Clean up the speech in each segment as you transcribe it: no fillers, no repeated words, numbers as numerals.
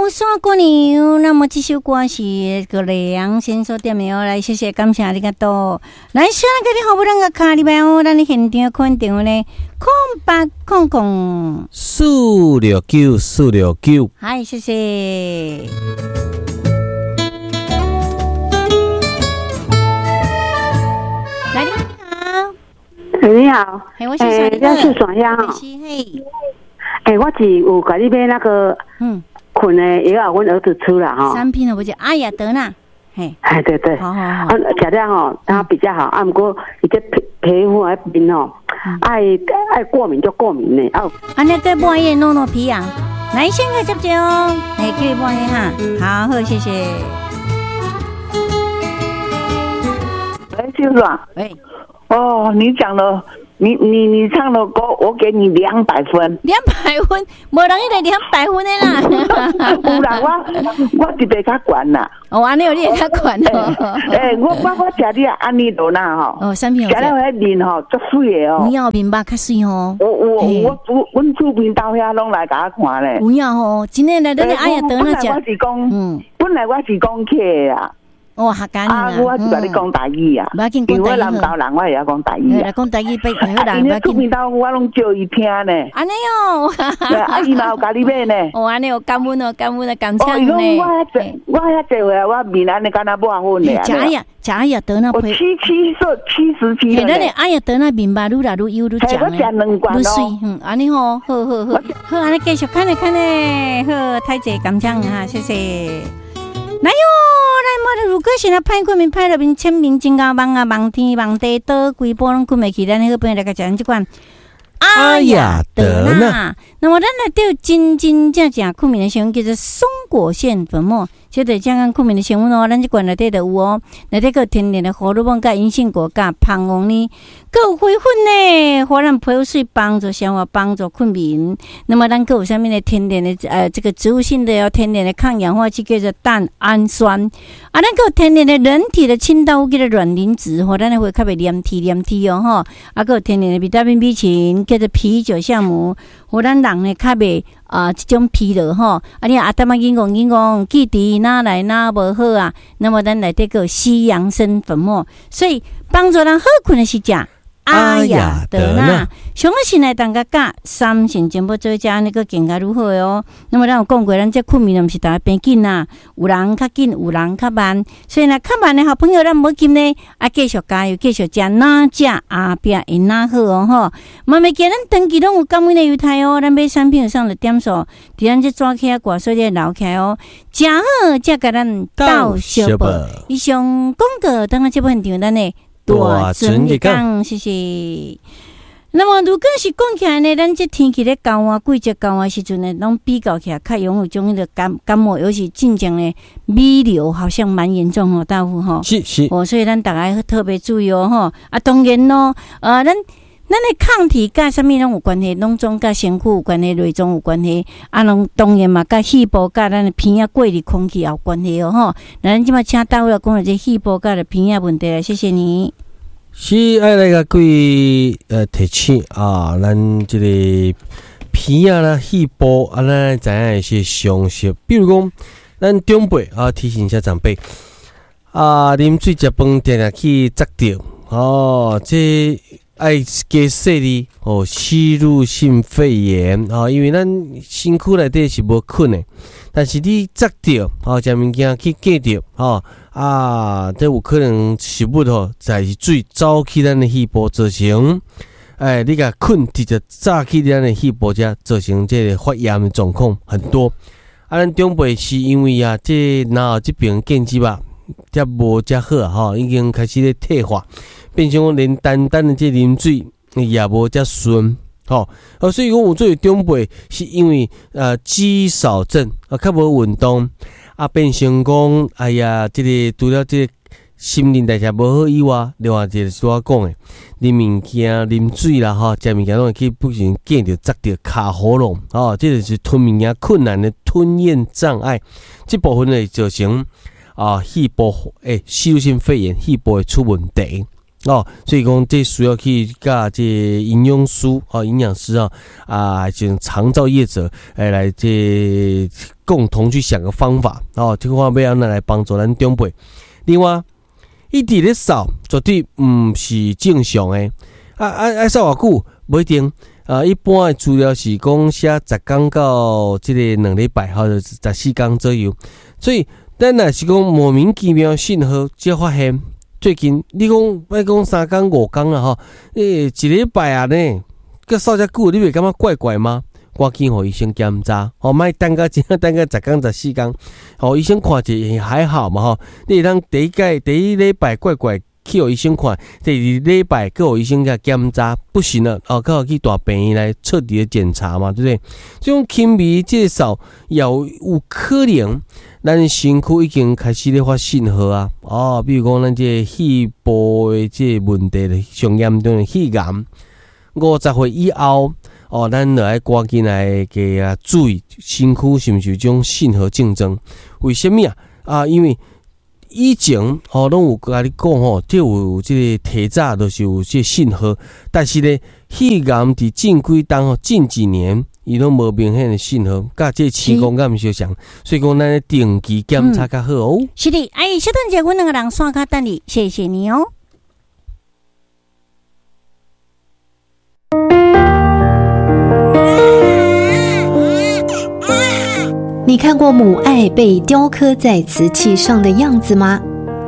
山姑娘。那麼這首歌是個梁先所點的哦，來，謝謝，感謝阿里嘎多。來，先來給你好不啷個卡裡邊哦，咱的現場款電話呢，0800 469 469。嗨，謝謝。來，你好。你好。嘿，我是我是爽香。嘿。欸，我是有共你買那個，睏的藥，阮兒子吃了哈。產品不就阿雅德納？嘿。哎，對對。好好好。啊，食了吼，他比較好。啊，毋過伊這皮膚還面吼，愛愛過敏就過敏呢。啊。按呢閣抹伊個諾諾皮啊，來先個接接哦，來叫伊抹伊哈。好，好，謝謝。喂，秀爽。喂。哦，你講了。你唱的歌，我給你200分。200分，無人伊個200分的啦。有啦，我特別較懸啦。哦，按呢你會較懸哦。欸，我食你安尼多啦吼。哦，啥物？食了彼面吼，足媠的哦。有影面肉較媠吼。我阮厝邊兜遐攏來共我看咧。有影吼，真的來，咱的阿爺倒來食。本來我是講，本來我是講客啊。哦，客家啊，我是共你講台語啊，因為我南投人，我會曉講台語啊。講台語袂好啦，因為厝邊兜我攏照伊聽呢。按呢哦，啊，伊嘛有共你買呢。哦，按呢有感恩哦，感恩啊，感謝呢。哦，伊講我遐濟，我遐濟歲啊，我面按呢敢若抹粉的。食呀，食呀，得那我77歲，77。嘿，咱的阿爺得那面肉愈來愈幼愈食呢。我食兩罐愈媠，嗯，按呢吼，好好好，好，按呢繼續看咧看咧，好，太濟感謝哈，謝謝。來喲，來莫如果是若歹睏眠，歹入眠，淺眠真𠢕夢啊，夢天夢地倒規晡攏睏袂去。咱好朋友來共食咱這款阿雅德納。那麼咱內底有真真正正睏眠的成分叫做松果腺粉末，這就是正講睏眠的成分哦。咱這罐內底就有哦，內底閣有天然的荷爾蒙、佮銀杏果、佮蜂王呢，閣有花粉呢，予咱皮膚媠，幫助消化，幫助睏眠。那麼咱閣有啥物呢？天然的這個植物性的哦，天然的抗氧化劑叫做蛋氨酸。啊，咱閣有天然的人體的清道夫叫做卵磷脂，予咱的會較袂黏體黏體哦吼。啊，閣有天然的維他命 B 群，叫做啤酒酵母，予咱人呢較袂啊這種疲勞吼。啊，你阿淡仔緊講緊講，記憶哪來哪無好啊？那麼咱內底閣有西洋參粉末，所以幫助人好睏的是食阿雅德納。上好是來當家佮三星全部做食，按呢閣更加愈好的哦。那麼咱有講過，咱這睏眠毋是逐个平緊啊，有人較緊，有人較慢。所以若較慢的好朋友，咱無緊呢，啊，繼續加油，繼續食，哪食後壁會哪好哦吼。嘛袂記咱長期攏有感恩的猶太哦，咱買產品上的點數，佇咱這紙起掛，所以留起來哦。誠好，才共咱鬥相報。以上廣告，等下這部分場咱的大船日講，謝謝。那麼如果是講起來呢，咱這天氣咧交換季節交換時陣呢，攏比較起來較容易有種彼個感冒，尤其進前呢，米流好像蠻嚴重哦，大夫吼。是是。哦，所以咱逐家特別注意哦吼。啊，當然咯，咱的抗體佮啥物攏有關係，攏總佮身軀有關係，內臟有關係，啊，攏當然嘛，佮肺部佮咱的鼻仔過濾空氣也有關係哦吼。那咱這擺請大夫來講下這肺部佮的鼻仔問題來，謝謝你。是愛來共各位提醒啊，咱這個鼻仔啦、肺部啊，咱知影一些常識，比如講，咱長輩啊，提醒一下長輩啊，啉水、食飯，定定去窒著哦，這愛加細膩哦，吸入性肺炎啊，因為咱身軀內底是無菌的，但是你窒著哦，食物件去隔著吼啊，這有可能食物吼，在是水走去咱的肺部，造成哎，你共菌直接炸去咱的肺部遮，造成這個發炎的狀況很多。啊，咱長輩是因為啊，這然後這爿建築啊，才無遮好吼，已經開始咧退化。變成講連單單的這啉水也無遮順吼，啊，所以講有做長輩是因為肌少症啊，較無運動啊，變成講哎呀，這個除了這個新陳代謝無好以外，另外一個是我講的，啉物件、啉水啦吼，食物件攏會去不小心哽著、窒著卡喉嚨吼，這個是吞物件困難的吞嚥障礙，這部分會造成啊肺部吸入性肺炎，肺部會出問題。哦，所以講這需要去佮這營養師哦，營養師啊，啊，像長照業者來來這共同去想個方法哦，這個話欲按怎來幫助咱長輩。另外，伊佇咧掃絕對毋是正常的，啊啊愛掃偌久？無一定啊。一般的資料是講寫10工到這个2禮拜，或者14工左右。所以，咱若是講莫名其妙信號才發現。最近你講莫講3工5工啦吼，欸，一禮拜啊呢，閣掃遮久，你袂感覺怪怪嗎？趕緊予醫生檢查，吼，莫等到真等到10工14工，予醫生看一下還好嘛吼。你會當第一擺第一禮拜怪怪去予醫生看，第二禮拜閣予醫生共檢查，不行了哦，閣去大病院來徹底的檢查嘛，對不對？這種輕微這掃也有可能。咱身軀已經開始咧發信號啊！哦，比如講咱這個肺部的這個問題，上嚴重的肺癌，50歲以後，哦，咱就愛趕緊來加啊注意身軀是毋是有這種信號症狀？為啥物啊？啊，因為以前哦，攏有共你講吼，這有這個提早就是有這個信號，但是咧，肺癌佇近幾冬吼，近幾年。伊攏無明顯的信號，佮這情況敢毋相像，所以講咱定期檢查較好哦。是的，哎，小等者，阮兩個人線跤等你，謝謝你哦。你看過母愛被雕刻在瓷器上的樣子嗎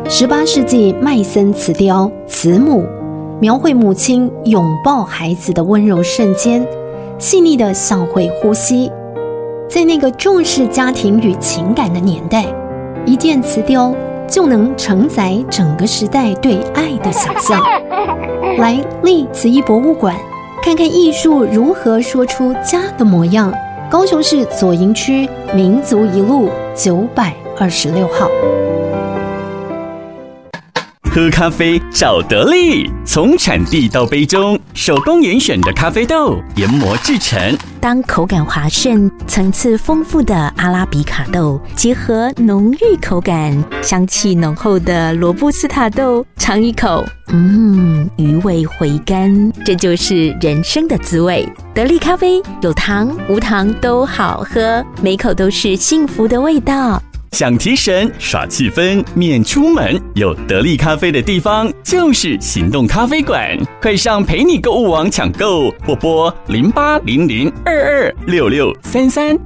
？18世紀麥森瓷雕《慈母》，描繪母親擁抱孩子的溫柔瞬間。細膩的像會呼吸，在那個重視家庭與情感的年代，一件瓷雕就能承載整個時代對愛的想象。來麗瓷藝博物館，看看藝術如何說出家的模樣。高雄市左營區民族一路926號。喝咖啡找得力，從產地到杯中，手工嚴選的咖啡豆研磨製成。當口感滑順、層次豐富的阿拉比卡豆結合濃郁口感、香氣濃厚的羅布斯塔豆，嘗一口，嗯，餘味回甘，這就是人生的滋味。得力咖啡有糖無糖都好喝，每口都是幸福的味道。想提神耍氣氛，免出門，有得力咖啡的地方就是行動咖啡館。快上陪你購物網搶購，或撥0800226633。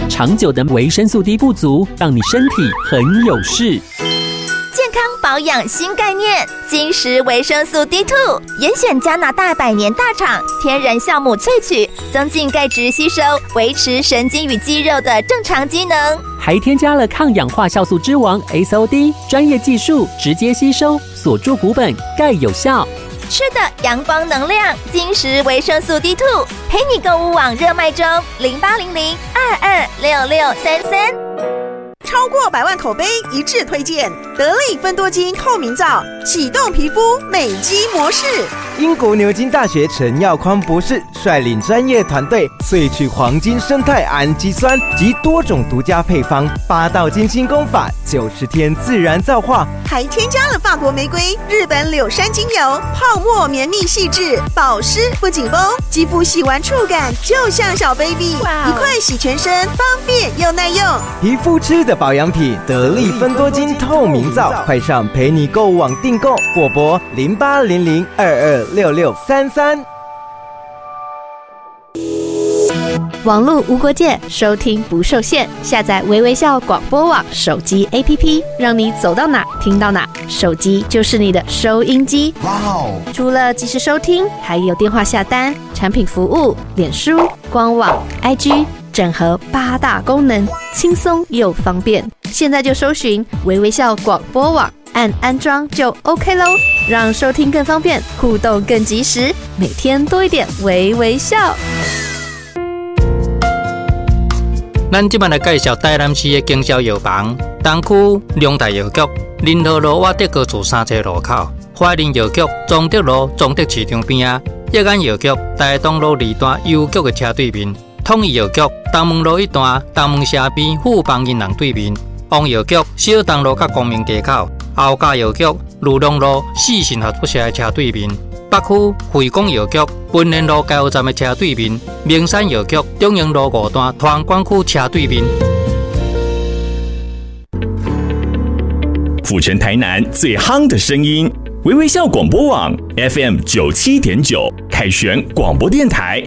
長久的維生素 D 不足，讓你身體很有事。健康保養新概念，晶石維生素 D2，嚴選加拿大百年大廠天然酵母萃取，增進鈣質吸收，維持神經與肌肉的正常機能。還添加了抗氧化酵素之王 SOD，專業技術直接吸收，鎖住骨本，鈣有效。吃的陽光能量，晶石維生素 D2，陪你購物網熱賣中，0800226633。超過百萬口碑一致推薦，得力芬多精透明皂，啟動皮膚美肌模式。英國牛津大學陳耀匡博士率領專業團隊萃取黃金生態氨基酸及多種獨家配方，八道精心工法，90天自然皂化，還添加了法國玫瑰、日本柳杉精油，泡沫綿密細緻，保濕不緊繃，肌膚洗完觸感就像小 baby，一塊洗全身，方便又耐用。皮膚吃的保養品，得力芬多精透明皂，快上陪你購物網訂購，或撥0800226633。網路無國界，收聽不受限。下載微微笑廣播網手機 APP，讓你走到哪聽到哪。手機就是你的收音機。哇哦！除了即時收聽，還有電話下單、產品服務、臉書、官網、IG，整合八大功能，輕鬆又方便。現在就搜尋微微笑廣播網，按安裝就 OK 嘍，讓收聽更方便，互動更及時，每天多一點微微笑。咱這擺來介紹台南市的經銷藥房，東區龍大藥局，仁和路瓦德高厝三層路口；懷仁藥局，崇德路崇德市場邊仔；益安藥局，台東路二段郵局的車對面；統一藥局，東門路一段東門社邊富邦銀行對面；王藥局，小東路佮光明街口；后甲藥局裕隆路四信合作社的車對面；北區惠廣藥局文賢路加油站的車對面；明山藥局中營路五段團管區車對面。府城台南最夯的聲音，微微笑廣播網 FM 97.9，凱旋廣播電台。